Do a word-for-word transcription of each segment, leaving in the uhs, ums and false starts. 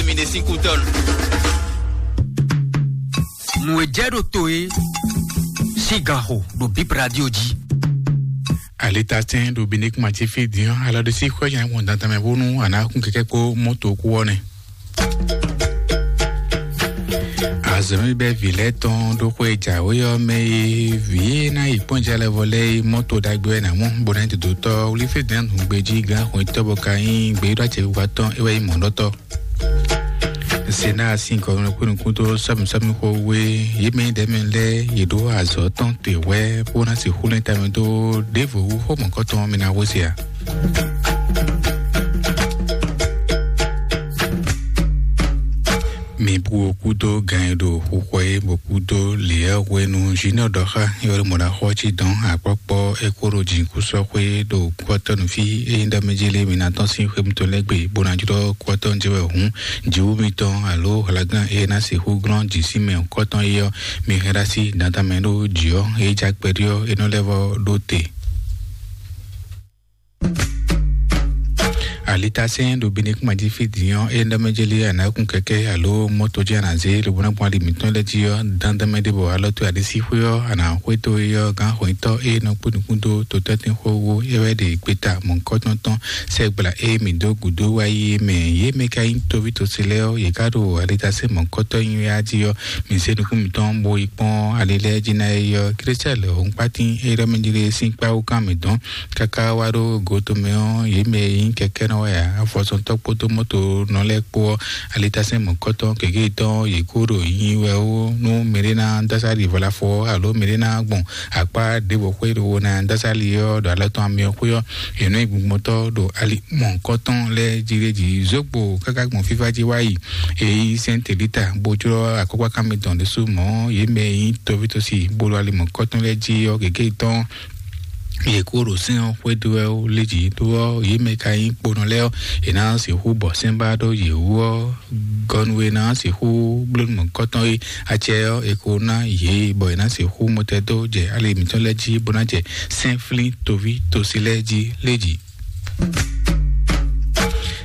Mi ɖe sín kú tɔn. Nǔ e jɛ ɖo to e sín ganxo ɖo Bib Radio jí. Alitɛtɛn ɖo Bindekuma jí fí din ɔ́, alɔ ɖé sí xwé nya gbɔn dandan mɛ bónú a nǎ kún kɛkɛ kpó mɔto kú ɔ́ nɛ. Azɔ̌mɛ bɛ́ vǐ lɛ́ɛ tɔn ɖó xwé e jǎwe ɔ́ mɛ e vǐ e ná yi kpɔ́n jalɛvɔ lɛ́ɛ é mɔto ɖagbe wɛ ná mɔ, bó ná nyí dodotɔ́ wlí fí dɛ̌n nǔgbé jí gán xwetɔ́ bɔ ka nyí gbeyíɖɔ acɛkpikpa tɔn é wɛ nyí mɔ̌ɖɔtɔ́. Sena sín gɔmɛ kpé nukún dó sɔ́mi sɔ́mi xó wé, yě mɛ ɖɛ̌ mɛ lɛ́ɛ yě ɖó azɔ̌ tɔn te hwɛ́ bó ná sixú lɛ́n tamɛ dó ɖěvo wú xó mɔ̌kɔtɔn mi ná hwesé a? Mi bu kúdó gan e ɖo xuxɔ é bɔ kúdó lěyɛ́ hwenu Junior ɖɔ xá yɔ́ɖɔmɔɖaxɔ cí dɔn akpɔkpɔ é kó ɖo jǐnukúsɔxwé ɖo kɔtɔnu fí é nyí ɖɔ mɛ jélé mi ná tɔ́n sín xwé mutɔn lɛ́ɛ gbe bó ná jlɔ́ kɔtɔnu jɛ wɛ hǔn jǐwú mitɔn alo hlaglán é ná sixú glɔ́n jǐ sín mɛ kɔtɔn é ɔ́, mi hɛn ɖó así dandan mɛ ɖó jǐ ɔ́ é já kpɛɖí ɔ́ é nɔ lɛ́ vɔ ɖó te. Alitasɛn ɖo Benin kúma jí fí din ɔ́, é ɖɔ mɛ jeli anakun kɛkɛ alo mɔto jí anazé lobo ná gbɔn ali mǐtɔn lɛ́ jí ɔ́, dandan mɛ ɖé bɔ alɔ tó ali sí xwé ɔ́, ana xwé tó é ɔ́, gán xwǐntɔ́ é nɔ kpó nukún dó totɔ́tɛn xó wó é wɛ ɖe gbeta mɔ̌kɔtɔn tɔn sɛgbla é mǐ dó gǔdo wá yi é mɛ. Yě mɛ ka nyí tóví tosi lɛ́ɛ ɔ́, yě ká ɖo alitasɛn mɔ̌kɔtɔn nyi wɛ á jí ɔ́, mǐ zé nukún mǐtɔn bó yi kpɔ́n ali lɛ́ɛ jí ná é ɔ́, Klísitɛ́ lɛ̌ ɔ́ kpátín é ɖɔ mɛ jeli sín kpáwú kan mǐtɔn káká wá ɖó go tɔn mɛ ɔ́, yě mɛ e nyí kɛkɛ́nɔ wɛ ǎ, afɔsɔntɔ́ kpódó mɔtonɔ lɛ́ɛ kpó ɔ́, alitasɛn mɔ̌kɔtɔn gěgé tɔn yě kó ɖo nyi wɛ ó, nú mɛɖé ná dó asá ɖi vɔ̌lafɔ ɔ́, alo mɛɖé ná gbɔn akpá ɖěvo xwé ɖo wo ná dó asá li ɔ́, ɖo alɔ tɔn amyɔ xwé ɔ́, yě nɔ nyi gbɔngbɔntɔ́ ɖo ali mɔ̌kɔtɔn lɛ́ɛ jí ɖé jí zógbo káká gbɔn fífá jí wá yi. Èyí sɛ́n tèlítà bó jlɔ́ akɔ́kpákán mitɔn ɖésú mɔ̌, yě mɛ e nyí tɔ́ví tɔ́ sí bó ɖo ali mɔ̌kɔtɔn lɛ́ɛ jí ɔ́, gěgé tɔn yě kó ɖo sɛ́n ɔ́ xwedó wɛ ó lé jǐ dó ɔ́, yě mɛ ka nyí kponɔ lɛ́ɛ ɔ́, è nǎ sixú bɔ sɛ́n ba ɖó yě wú ɔ́, gɔnu e ná sixú bló mɔ̌kɔtɔn e acɛ ɔ́, è ko ná yě bɔ è nǎ sixú mɔtɛdó jɛ ali mǐtɔn lɛ́ɛ jí bó ná jɛ sɛ́nflín toví tosi lɛ́ɛ jí lé jǐ.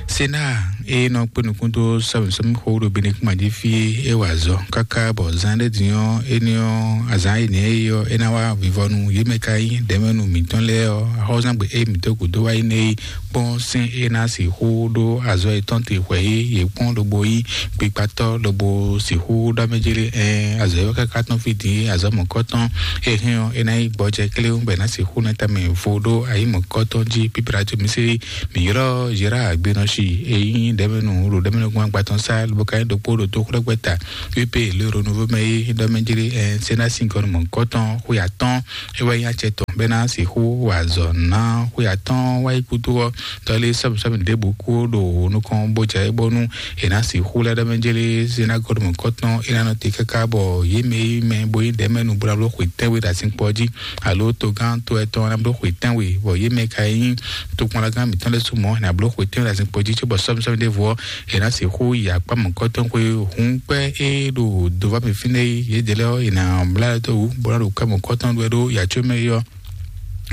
Sena e nɔ kpé nukún dó sɔmìsɔmì xó ɖo Benin kúma jí fí é wa azɔ̌ káká bɔ zán ɖé din ɔ́, éní ɔ́, azǎn énɛ́ é ɔ́, é ná wá vivɔnu yě mɛ ka nyí ɖɛ̌mɛnu mǐtɔn lɛ́ɛ ɔ́, axɔ́zángbè e mǐ dó gǔdo wá yi nɛ́ é kpɔ́n sɛ́n é ná sixú ɖó azɔ̌ yětɔn te hwɛ̌ é yě kpɔ́n lobo nyí gbikpatɔ́ lobo sixú ɖɔ mɛ jélé ɛn azɔ̌ é wá káká tɔn fí din é azɔ̌ mɔ̌kɔtɔn é hɛn ɔ́, é ná nyí gbɔjɛ kléwún bɔ è nǎ sixú ná tamɛ vo ɖó ayǐ mɔ̌kɔtɔn jí pípla jí mǐ sí. Mǐ ylɔ́ Gérard Gbenɔsi e nyí ɖɛ̌mɛnu ɖo ɖɛ̌mɛnúgbɔn agbatɔn sá lobo ka nyí ɖokpó ɖo tó xwlɛ́gbɛ́ta U P le Renouveau mɛ é ɖɔ mɛ jlé ɛ Sénat sín gɔnu mɔ̌hunkɔtɔn xwe atɔ́ɔ́n é wɛ nyí acɛ tɔn bɔ é ná sixú wa azɔ̌ ná xwe atɔ́ɔ́n wá yi kúdó ɔ́, tɔ́lé sɔ́mìsɔ́mì ɖěbǔ kú ɖo nukɔn bó jɛ é bónú è nǎ sixú lɛ́ ɖɔ mɛ jlé Sénat gɔnu mɔ̌hunkɔtɔn é ná nɔ te káká bɔ yě mɛ e nyí mɛ bo nyí ɖɛ̌mɛnu bó ná bló xwe tɛ́nwe ɖo azinkpo ɔ́ jí alo togán to ɛtɔn ná bló xwe tɛ́nwe, bɔ yě mɛ ka nyí tokpɔnlagán mǐtɔn lɛ́ɛ su mɔ̌ è nǎ bló xwe tɛ́nwe ɖo azinkpo jí, cóbɔ sɔ́mìsɔ́mì ɖěvo ɔ́, è nǎ sixú yi akpá mɔ̌kɔtɔn xwe hun kpɛ́ é ɖo dová mɛ fínɛ́ é, yědɛɛ lɛ́ɛ ɔ́, è nǎ mlá ɛ dó wǔ, bó ná ɖo kɛ́ mɔ̌kɔtɔn ɖu wɛ ɖó yǎ có mɛ é ɔ́.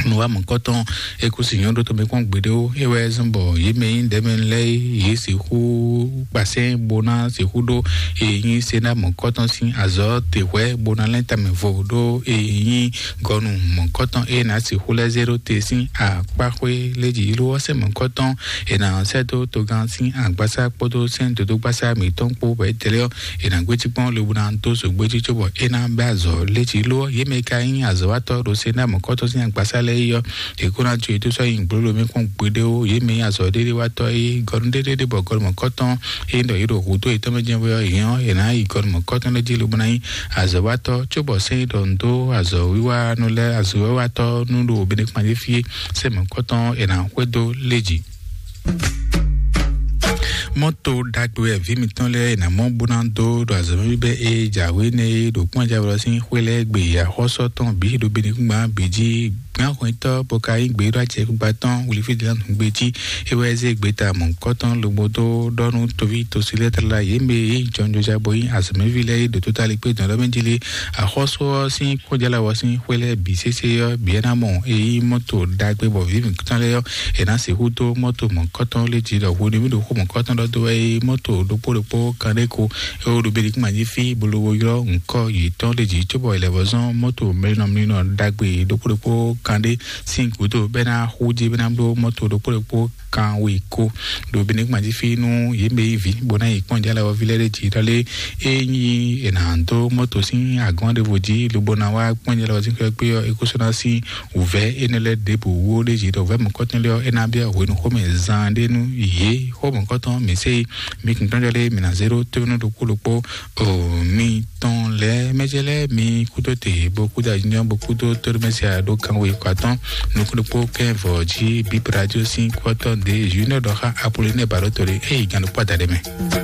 Nǔwá mɔ̌kɔtɔn é kú si nyɔ́ ɖó tɔn mɛ kpɔ́n gbeɖé ó, é wɛ zɔ́n bɔ yě mɛ nyí ɖɛ̌mɛ lɛ́ɛ é, yě sixú kpasɛ́n bó ná sixú ɖó e nyí Sénat mɔ̌kɔtɔn sín azɔ̌ te hwɛ̌ bó ná lɛ́n tamɛ vo ɖó e nyí gɔnu mɔ̌kɔtɔn e ná sixú lɛ́ zé ɖó te sín akpáxwé lé jǐ ló ɔ́ sɛ́ mɔ̌kɔtɔn è nǎ sɛ́ dó togán sín agbásá kpódó sɛ́n dodógbásá mǐtɔn kpó bɔ é tɛ́ lɛ́ ɔ́, è nǎ gbéjí kpɔ́n lobo ná dó zǒgbéjí cóbɔ é ná bɛ́ azɔ̌ lé jǐ ló ɔ́, yě mɛ ka nyí azɔ̌watɔ́ ɖo Sénat mɔ̌kɔtɔn sín agbásá lɛ́ɛ é ɔ́, è kó ná jó yě dó sɔ́ nyi gblǒlǒ mɛ kpɔ́n gbeɖé ó. Yě mɛ nyí azɔ̌ ɖéɖéwatɔ́ é gɔnu ɖéɖéɖé bɔ gɔnu mɔ̌kɔtɔn é ɖɔ yě ɖo hǔdó yětɔn mɛ jɛ́n wɛ ɔ́, yě ɔ́, è nǎ yi gɔnu mɔ̌kɔtɔn lɛ́ɛ jí lobo ná nyí azɔ̌watɔ́, cóbɔ sɛ́n é ɖɔ un dó azɔ̌wiwanú lɛ́ɛ azɔ̌wiwatɔ́ nú ɖo Benɛkpandé fí é, sɛ́n mɔ̌kɔtɔn è nǎ xwedó lé jǐ. Mɔto ɖagbe wɛ vǐ mitɔn lɛ́ɛ è nǎ mɔ bó ná dó ɖo azɔ̌ bíbɛ́ e jǎwe nɛ́ é ɖo kpɔ́njɛwlɔ sín xwé lɛ́ɛ gbe axɔ́sɔ tɔn bǐ ɖo Benɛkpandé bǐ jí gbɛ́nxɔnyitɔ́ bó ka nyí gběɖó acɛ gbígbá tɔn wlifídílánù gbé jí. É wɛ zé gbeta mɔ̌hunkɔtɔn lobo dó ɖɔ nú toví tosi lɛ́ɛ tlala yě mɛ e jɔnjɔja bó nyí azɔ̌mɛví lɛ́ɛ é ɖo tótá likpé dɔ̌n ɖɔ mɛ jí lé. Axɔ́sú ɔ́ sín kpɔ́njálawɔ sín xwé lɛ́ɛ bǐ sésé ɔ́, bǐ é ná mɔ é nyí mɔ́to ɖagbe bɔ vǐ mǐtɔn lɛ́ɛ ɔ́, è nǎ sixú dó mɔ́to mɔ̌hunkɔtɔn lé jí ɖɔ hwenu mì ɖo xó mɔ̌hunkɔtɔn ɖɔ dó wɛ é nyí mɔ́to ɖokpó ɖokpó kanɖéko. É wó ɖo Belikúma jí fí bó ló ylɔ́ ŋkɔ yětɔn ɖé jí cóbɔ è lɛ́ vɔ́ zɔ́n mɔ́to mlínɔmlínɔ ɖagbe ɖokpó ɖokpó kanɖé sín gǔdo bɛ́ ná xú jí bɛ́ ná bló mɔ́to ɖokpó ɖokpó kanwe ko ɖo Belikúma jí fí nú yě mɛ yi vǐ bó ná yi kpɔ́n jálɛ ɔ́ ví lɛ́ɛ ɖé jí ɖɔ lé é nyí è nǎ dó mɔ́to sín agɔ́n ɖěvo jí lobo ná wá kpɔ́n jálɛ ɔ́ sín xwé kpé ɔ́ é kó sɔ́ ná sín wǔvɛ́ énɛ́ lɛ́ɛ ɖěbǔ wú ɖé jí ɖɔ wǔvɛ́ mɔ̌kɔtɔn lé ɔ́ é ná byɔ́ hwenu xómɛ zan ɖé nú yě xó mɔ̌kɔtɔn mǐ sé yi. Mi kún tɔ́n jɔ lé mǐ ná zé ɖó tónú ɖokpó ɖokpó o mi tɔn lɛ́ɛ mɛjɛ lɛ́ɛ mi kúdó te bó kúdó ayinjɔ́n bó kúdó tóɖómɛsí aɖó kanwe kɔ atɔ́n nukúnɖokpó kɛ́n vɔ̌ jí bíbradio sín kɔ́tɔ́ ɖě junior ɖɔ xá Apollinaire Baɖótole eyi gǎn ɖokpó adaɖé mɛ.